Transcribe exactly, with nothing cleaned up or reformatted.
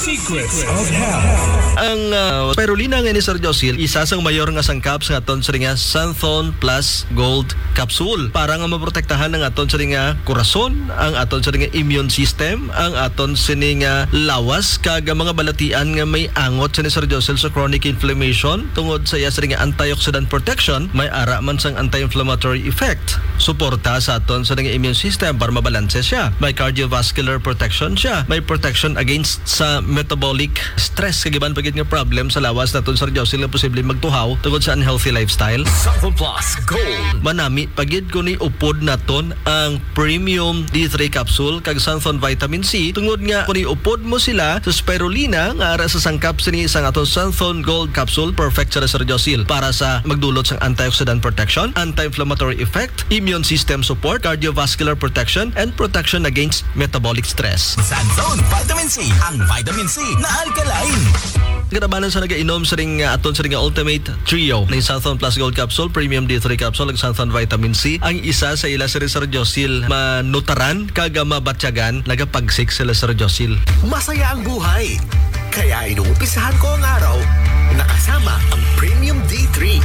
Secrets of Health. Ang uh, spirulina nga ni Sir Josil, isa sang mayor nga sangkap sa aton sini nga Santhon Plus Gold Capsule para nga maprotektahan ang aton sini nga korason, ang aton sini nga immune system, ang aton sini nga lawas, kag ang mga balatian nga may angot sini Sir Josil sa chronic inflammation tungod sa iya sini nga antioxidant protection, may ara man sang anti-inflammatory effect. Suporta sa aton sini nga immune system para mabalanse siya. May cardiovascular protection siya. May protection against sa metabolic stress, kag iban pa gid nga problem sa lawas naton, Sir Josil, nga posible magtuhaw tungod sa unhealthy lifestyle. Santhon Plus Gold. Manami pa gid kung iupod naton ang Premium D three Capsule kag Santhon Vitamin C, tungod nga kung iupod mo sila sa spirulina nga ara sa sangkap sini sang aton Santhon Gold Capsule, perfect sila, Sir Josil, para sa magdulot sang antioxidant protection, anti-inflammatory effect, immune system support, cardiovascular protection, and protection against metabolic stress. Santhon Vitamin C, ang vitamin C na alkaline. Kinabanan sa nagainom sa ring uh, aton sa ring Ultimate Trio ni Santhon Plus Gold Capsule, Premium D three Capsule, ug Santhon Vitamin C, ang isa sa ila si Sir Josil manutaran kag mabatyagan, nagapagsik sila, Sir Josil. Masaya ang buhay. Kaya inumpisahan ko ang araw nakasama ang Premium D three.